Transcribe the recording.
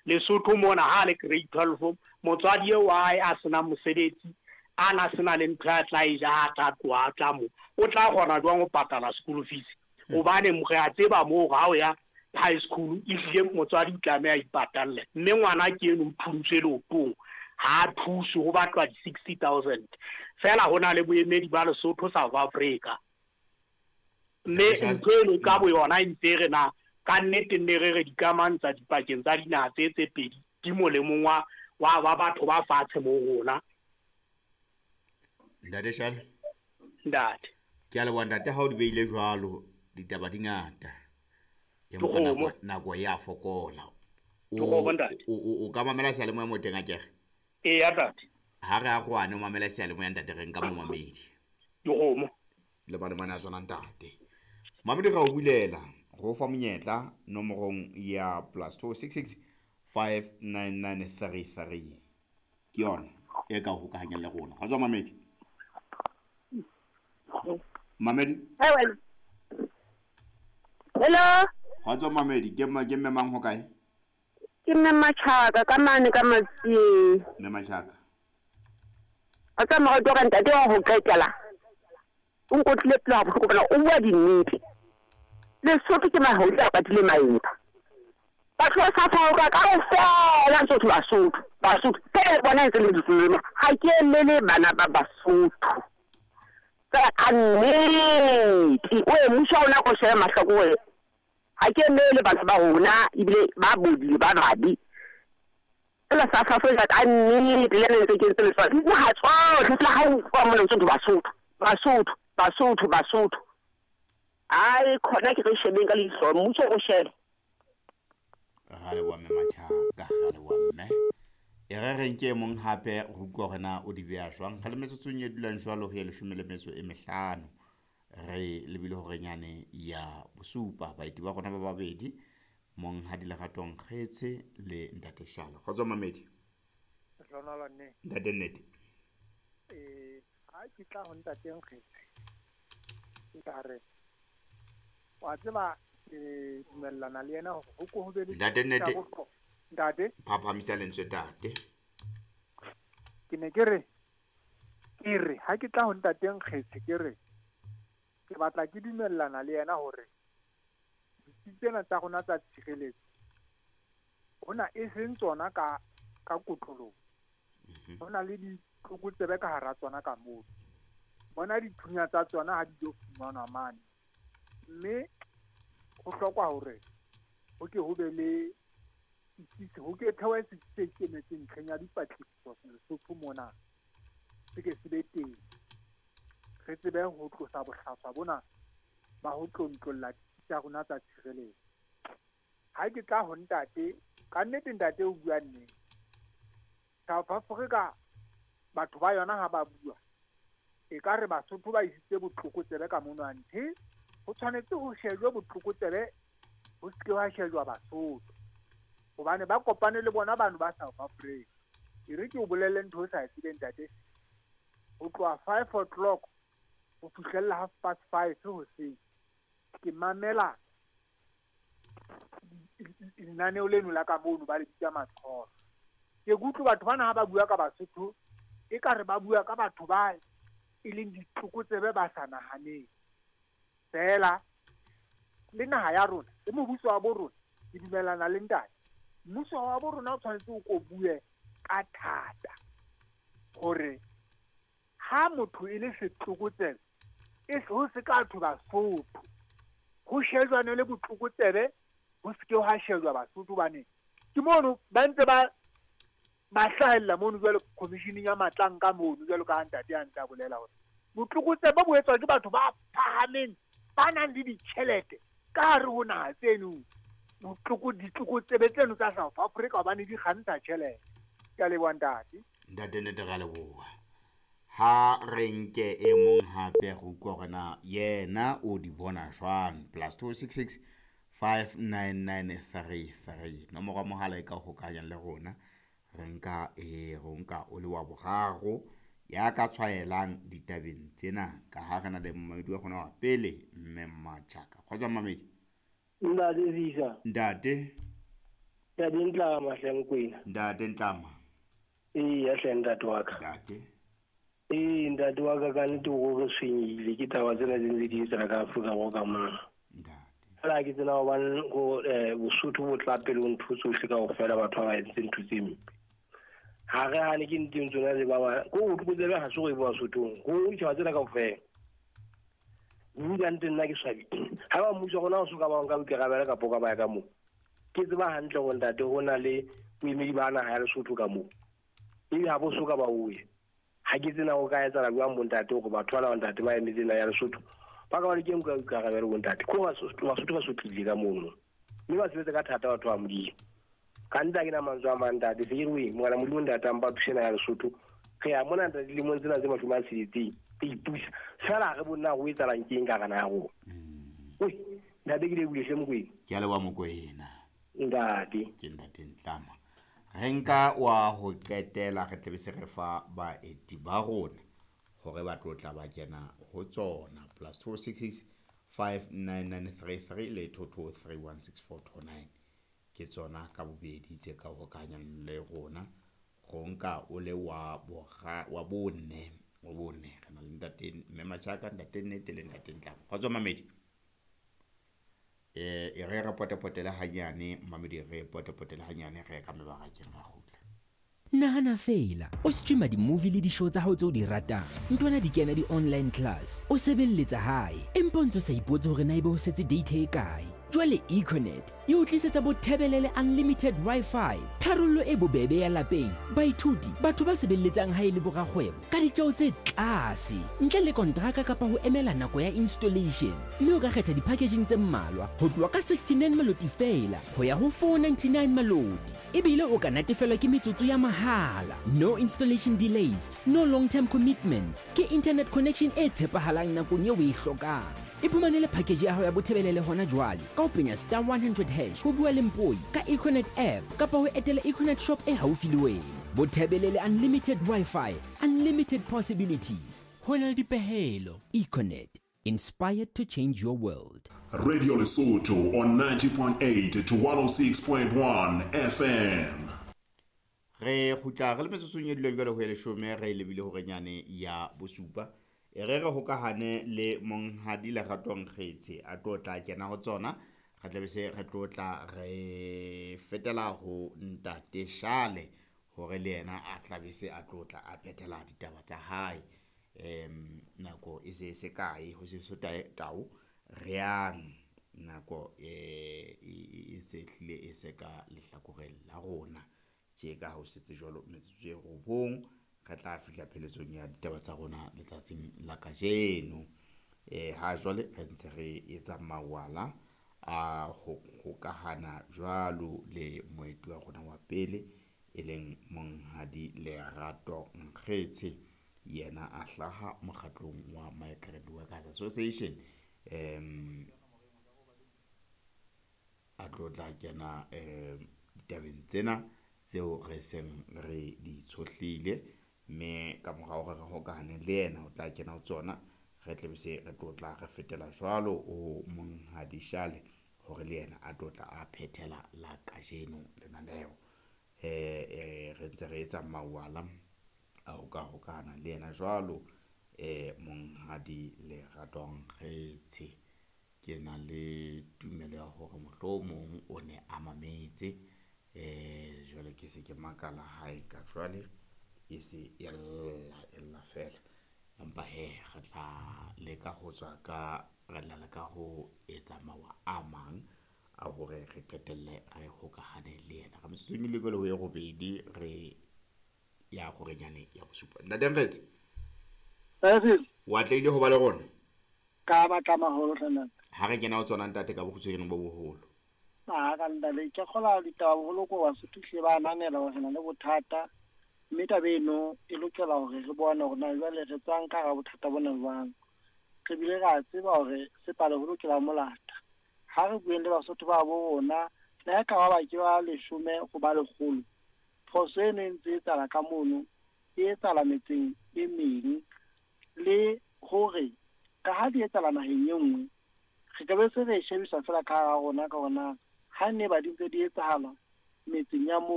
Lesotho mona ha le grade 12 motswadi eo wa hae a senang mosebetsi a na sena le ntho ya tla e ja ha tla tloha a tla mo o tla kgona jwang ho patala school fees? Hobane re a tseba moo ha o ya high school ehlile motswadi o tlameha a ipatalle, mme ngwana ke eno o thuntswe leotong, ha a thuswe, ho batlwa di-60 000 fela. Ho na le boemedi ba Lesotho South Africa, mme ntho eno ka boyona e ntse re na ka nnete nne re re dikamano tsa dipakeng tsa dinaha tse tse pedi di molemong wa batho ba fatshe mo rona. Ntate Shale. Ntate. Ke a leboha, ntate. Ha o di beile jwalo, ditaba di ngata, empa nako e a fokola. O ka mamela seyalemoya mo teng akere? Eya, tate. Ha re a kgwane o mamela seyalemoya, ntate. Re nka momamedi. Dikgomo. Le bane mane a tswana, ntate. Mamedi, ra o bulela go fa monyetla nomorong ya +266 59933, ke yona e ka hokahanyang le rona. Kgotsa mamedi, mamedi. Hello. Kgotsa mamedi, ke mme mang, ho kae? Ke mme Machaka ka mane ka Matsieng. Mme Machaka. A tsa morati wa ka, ntate wa ho qetela. O nkotlile pelo ha bohloko bona, o bua dinnete. Lesotho ke mahodi a patile maeba. Batho ba South Africa kaofela ntse ho thwe Basotho, Basotho. Ke bona ntse le ditlolema. Ha ke emele bana ba Basotho. Fela ka nnete o e mmuso wa rona ko shebe mahlakore. Ha ke emele bana ba rona ebile ba bodile ba babe. Fela South Africa ka nnete le ntse ke ntse le dinaha tsohle fela ha o utlwa mona ntse Basotho, Basotho, Basotho, Basotho. Ai khona ke re shebeng ka leihlo, mmuso o shebe. Ra leboha, mme Machaka, ra leboha, mme. E re re nke e mong hape re utlwa hore na o di beha jwang. Re le metsotsong e dulang jwalo ho ya 15, re lebile horenyane ya bosupa. Baeti ba rona ba babedi, Monghadi Leratong Kgetse le ntate Shale. Kgotso, mamedi. Ntate Nnete. Ha ke tla ho ntate Nkgetse, ke tla re wa tseba ke dumellana le yena hore ho ko ho be le Ntate Nnete. Ntate. Phaphamisa lentswe, tate. Ke ne ke re ke re ha ke tla ho ntate Nkgetse, ke re ke batla ke dumellana le yena hore ditsi tsena tsa rona tsa tshireletso hona e seng tsona ka kotloloho, ho na le ditlokotsebe ka hara tsona ka moo. Bona dithunya tsa tsona ha di tlo fumanwa mane, mme ho hlokwa hore ho ke ho be le setsi, ho ke thewe setsi se ikemetseng ntlheng ya dipatlisiso Lesotho mona, se ke se be teng, re tsebe ho tlosa bohlaswa bona ba ho tlontlolla ditsi tsa rona tsa tshireletso. Ha ke tla ho ntate, ka nnete ntate o bua nnete. South Africa batho ba yona ha ba bua e ka re Basotho ba isitse botlokotsebe ka mono, anthe ho tshwanetse ho shejwe botlokotsebe, ho se ke wa shejwa Basotho, hobane ba kopane le bona bano ba South Africa. E re ke o bolelle ntho o sa e tsebeng, ntate. Ho tloha 5 o'clock ho fihlella 5:30 hoseng ke mamela lenaneo leno la ka mono ba le bitsa Maqholo. Ke kutlwe batho bana ha ba bua ka Basotho e ka re ba bua ka batho ba e leng ditlokotsebe ba sa nahaneng fela. Le naha ya rona le mobuso wa bo rona, ke dumellana le ntate, mmuso wa bo rona o tshwanetse o ko bue ka thata hore ha motho e le setlokotsebe e ho se ka thwe Basotho, ho shejwane le botlokotsebe, ho se ke ha shejwa Basotho, hobane ke mono ba ntse ba hlahella mono jwalo commissioning ya Matlanka mono, jwalo ka ha ntate a ntse a bolela hore botlokotsebe bo etswa ke batho ba phahameng ba nang le ditjhelete ka hare ho naha tseno, ditlokotsebe tseno tsa South Africa, hobane di kgantsha tjhelete. Ke a leboha, ntate. Ntate Nnete, ra leboha. Ha re nke e mong hape re utlwa hore na yena o di bona jwang. +266 59933, nomoro ya mohala e ka hokahanyang le rona. Re nka e re nka o le wa boraro ya ka tshwaelang ditabeng tsena, ka ha re na le momamedi wa rona wa pele, mme Mmatjhaka. Kgotsa mamedi. Ntate Visa. Ntate. Ntate Ntlama hle Mokwena. Ntate Ntlama. Ee, hle ntate wa ka. Ntate. Ee, ntate wa ka, ka nnete o re tshwenyehile ke taba tsena tse ntse di etsahala ka Afrika Borwa ka mona. Ntate. Fela ke tsena hobane go Bosotho bo tla pele ho ntho tsohle kaofela, batho ba ba entse ntho tse mpe. Ha re hane ke nteng tsona le ba ba ko o tlokotsebe ha se go e bua Sothong, go ditjhaba tsena kaofela. Mme ka nnete nna ke swabi. Ha ba mmuso wa rona o soka ba nka boikarabelo kapa o ka ba ya ka moo. Ke tseba hantle hore ntate ho na le boemedi ba naha ya Lesotho ka moo. Ebe ha bo soka ba o ye. Ha ke tsena ho ka etsahala jwang bo ntate hore batho bana ba ntate ba emetse naha ya Lesotho ba ka ba le ke nka boikarabelo bo ntate. Ko Basotho ba sotlile ka mono. Mme ba sebetsa ka thata batho ba Modimo. Ka nnete ha ke na mantswe a mang ntate, se ke re oe, Morena Modimo ntate a mpa thuse naha ya Lesotho. Re ya mona ntate dilemong tsena tse 60 re ipusa. Feela ha re bone na ho etsahalang ke eng ka hara naha ya rona. Oi, ntate ke lebohile hle Mokwena. Ke a leboha Mokwena. Ntate. Ke ntate Ntlama. Re nka wa ho qetela re tle be se re fa baeti ba rona hore ba tlo tla ba kena ho tsona. +266 59933 le 22316429 ke tsona ka bobedi tse ka hokahanyang le rona. Go nka o le wa bora wa bone wa bone re na le ntate Mme Machaka, ntate Nnete le ntate Ntlama. Kgotso Mamedi. E re re potepotele hanyane Mamedi, re potepotele hanyane re ka mebarakeng ra kgutla. Nahana fela, o streama di-movie le di-show tsa hao tseo di ratang. Ntwana di kena di-online class, o sebelletsa hae, empa o ntso sa ipotse hore na ebe ho setse data e kae. Jwale Econet e o tlisetsa bothebelele unlimited Wi-Fi, tharollo e bobebe ya lapeng, baithuti, batho ba sebelletsang hae le borakgwebo ka ditjeo tse tlase, ntle le kontraka kapa ho emela nako ya installation. Mme o ka kgetha di-packaging tse mmalwa ho tloha ka 69 maloti feela ho ya ho 499 maloti. Ebile o ka natefelwa ke metsotso ya mahala. No installation delays, no long-term commitments. Ke internet connection e tshepahalang nakong eo o e hlokang. Iphumanele package ya hao ya bothebelele hona jwale ka ho penya star 100 hash ho bua le Mpoi ka Econet app kapa ho etela Econet shop e haufi le wena. Bothebelele unlimited Wi-Fi, unlimited possibilities. Ho na le dipehelo. Econet, inspired to change your world. Radio Lesotho on 90.8 to 106.1 FM. Re kgutla re le metsotsong e duleng jwale ho e leshome re lebile hore nyane ya bosupa. E re re hokahane le monghadi Lerato Nkgetse a tlo tla kena ho tsona. Re tla be se re tlo tla re fetela ho ntate Shale hore le yena a tla be se a tlo tla a phethela ditaba tsa hae. Nako e se se kae ho se so tau re yang nako e se hlile e se ka lehlakoreng la rona. Tje ka ho setse jwalo metsotso e robong re tla fihla pheletsong ya ditaba tsa rona letsatsing la kajeno. Ha jwale re ntse re etsa mawala a ho hokahana jwalo le moeti wa rona wa pele e leng monghadi Lerato Nkgetse, yena a hlaha mokgatlong wa Migrant Workers Association. A tlo tla kena ditabeng tsena tseo re seng re di tshohlile, mme ka morao hore re hokahane le yena o tla kena ho tsona. Re tle be se re tlo tla re fetela jwalo ho monghadi Shale hore le yena a tlo tla a phethela la kajeno lenaneo. Re ntse re etsa mawala a ho ka hokahana le yena jwalo monghadi Lerato Nkgetse. Ke na le tumelo ya hore mohlomong o ne a mametse. Jwale ke se ke makala hae ka jwale e se e lla fela. Empa he re tla leka ho tswa ka re tla leka ho etsa mawa a mang a hore re qetelle re hokahane le yena. Ka metsotsong e lekolo ho e robedi re ya hore nyane ya bosupa. Ntate Nkgetse, wa tlaile ho ba le rona? Ka batla maholo hle ntate. Ha re kena ho tsona ntate ka bokgutshwanyane bo boholo. A ka ntate ke kgola ditaba boholo ko Basotho hle ba ananela hore re na le bothata, mme taba eno e lokela hore re bone hore na jwale re tswang ka hara bothata bona jwang. Re bile ra tseba hore sepale ho lokela molata. Ha re bueng le Basotho ba bo rona, le ha e ka ba ba ke ba 10 ho ba 100, phoso eno e ntse e etsahala ka mono, e etsahala metseng e meng, le hore ka ha di etsahala naheng e nngwe, re ka be se re e shebisa fela ka hara rona ka hore na ha ne ba di ntse di etsahala Metseng ya moo.